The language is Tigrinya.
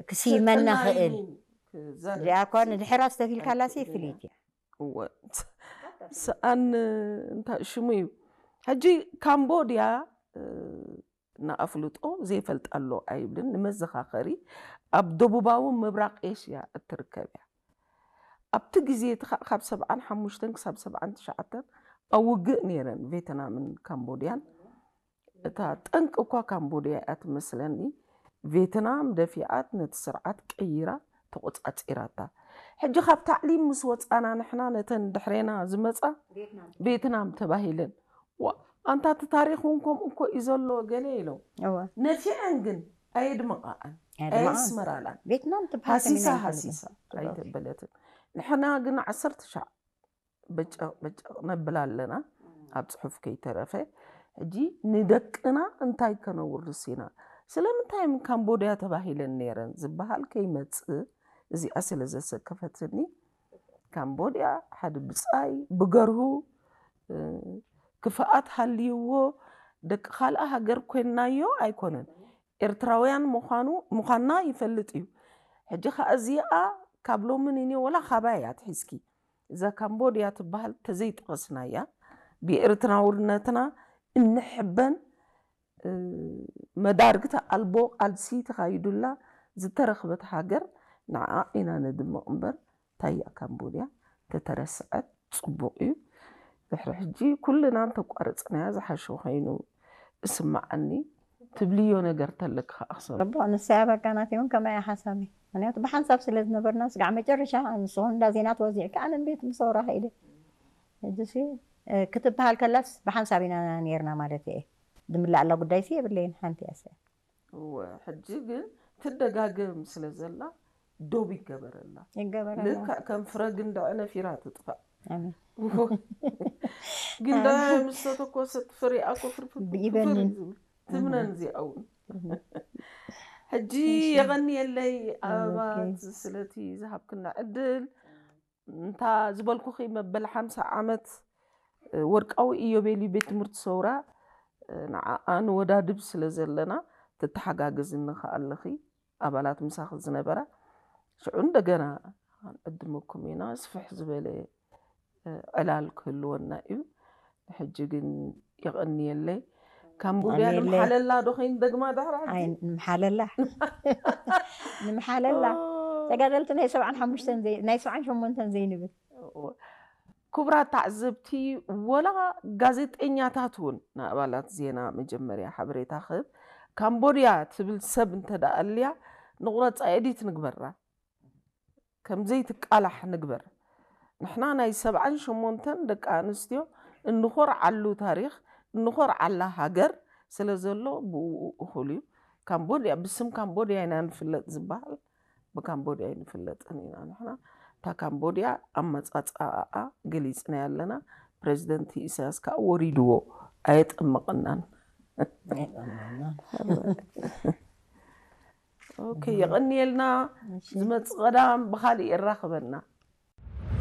ክስይመና ስልጠና ክእል ኢሉ ክዛረብ እዚኣ እኳ ንድሕራ ዝተፊልካላሲ ፍልይቲ እያ። እወ። ሰኣን እንታይ ሽሙ እዩ? ሕጂ ካምቦድያ ንኣፍልጦ ዘይፈልጣ ኣሎ ኣይብልን። ንመዘኻኸሪ ኣብ ደቡባዊ ምብራቕ ኤሽያ እትርከብ እያ። ኣብቲ ግዜ እቲ ካብ ሰብዓን ሓሙሽተን ክሳብ ሰብዓን ትሽዓተን ኣብ ውግእ ነይረን ቬትናምን ካምቦድያን። እታ ጠንቂ እኳ ካምቦድያ እያ ትመስለኒ። ቬትናም ደፊኣት ነቲ ስርዓት ቀይራ ተቆጻጺራታ። ሕጂ ካብ ታዕሊም ምስ ወጻና ንሕና ነተን ድሕሬና ዝመጻ ቬትናም ተባሂለን። ኣንታ እቲ ታሪኽ እውን ከምኡ እኮ እዩ ዘሎ ገለ ኢሎም ነፊዐን ግን ኣየድመቓኣን ኣየስመራላን። ቬትናም ሃሲሳ ሃሲሳ ኣይተበለትን። ንሕና ግን ዓሰርተ ሻዕ በጨቕ በጨቕ ነብል ኣለና ኣብ ጽሑፍ ከይተረፈ። ሕጂ ንደቅና እንታይ ከነውርስ ኢና? ስለምንታይ ምን ካምቦድያ ተባሂለን ነይረን ዝበሃል ከይመጽእ እዚኣ ስለ ዘሰከፈትኒ ካምቦድያ ሓደ ብጻይ ብገርሁ ክፍኣት ሃልይዎ ደቂ ካልኣ ሃገር ኮይንናዮ ኣይኮነን፣ ኤርትራውያን ምዃኑ ምዃንና ይፈልጥ እዩ። ሕጂ ከኣ እዚኣ ካብ ሎሚ ንኔ ወላ ካባይ እያ ትሒዝኪ እዛ ካምቦድያ ትበሃል ተዘይጠቐስናያ ብኤርትራውነትና እንሕበን መዳርግቲ ኣልቦ ቃልሲ ተኻይዱላ ዝተረኽበት ሃገር ንዓ ኢና ነድምቕ እምበር ታያ ካምቦድያ ተተረስዐት ጽቡቕ እዩ። ድሕሪ ሕጂ ኩልና እንተቋረጽናያ ዝሓሸ ኮይኑ እስማዓኒ። ትብልዮ ነገር ተለክ ከኣ ክሰብ ረቦ ንሳ ያበቃ ናት እውን ከማይ ሓሳቢ ምክንያቱ ብሓንሳብ ስለ ዝነበርና ስጋዕ መጨረሻ ንስኹን እንዳ ዜና ተወዚዕካ ኣነ ቤት ምሰውራ ኸኢለ ሕጂ ክትበሃል ከላስ ብሓንሳብ ኢና ነርና ማለት እየ። ድምላእ ኣላ ጉዳይ ሲ የብለይን ሓንቲ እያ። እወ ሕጂ ግን ትደጋገም ስለ ዘላ ዶብ ይገበረላ። ይገበረላ። ልክዕ ከም ፍረ ግንዳዕ ነፊራ ትጥፋእ። ኣሜን። ግንዳዕ ምስ ተተኮሰት ፍሪኣ እኮ ፍርፍር ፍርፍር ብኢበኒ። እዩ ዝብል። ትምነን እዚኣ እውን። ሕጂ የቐንየለይ ኣበባ ስለቲ ዝሃብክና ዕድል። እንታ ዝበልኩኺ መበል ሓምሳ ዓመት ወርቃዊ ኢዮቤልዩ ቤት ትምህርቲ ሰውራ ንዓኣ ንወዳድብ ስለ ዘለና ትተሓጋገዝኒ ከኣ ኣለኺ። ኣባላት ምሳኺ ዝነበራ ሽዑ እንደገና ክንዕድመኩም ኢና። ስፍሕ ዝበለ ዕላል ክህልወና እዩ። ሕጂ ግን የቐንየለይ። ካምቦድያ ንምሓለላ ዶ ኸይኑ ደግማ ድሕሪ ሕጂ? ኣይ ንምሓለላ ንምሓለላ ተጋደልቲ ናይ ሰብዓን ሓሙሽተን ዘይ- ናይ ሰብዓን ሸሞንተን ዘይንብል ክቡራት ተዓዘብቲ፣ ወላ ጋዜጠኛታት እውን ንኣባላት ዜና መጀመርያ ሓበሬታ ክህብ ካምቦድያ ትብል ሰብ እንተ ደኣ ኣልያ ንቑረጻ ኤዲት ንግበራ። ከም ዘይትቃላሕ ንግበር። ንሕና ናይ ሰብዓን ሸሞንተን ደቂ ኣንስትዮ እንኾርዓሉ ታሪኽ እንኾርዓላ ሃገር ስለ ዘሎ ብኡ እኹል እዩ። ካምቦድያ ብስም ካምቦድያ ኢና ንፍለጥ ዝበሃል ብካምቦድያ ኣይንፍለጥን ኢና ንሕና። እታ ካምቦድያ ኣመጻጽኣኣ ገሊጽናያ ኣለና። ፕረዚደንት ኢሳያስ ከኣ ወሪድዎ ኣየጠመቐናን። ኦኬ የቐንየልና። ዝመጽእ ቀዳም ብኻሊእ የራኽበና።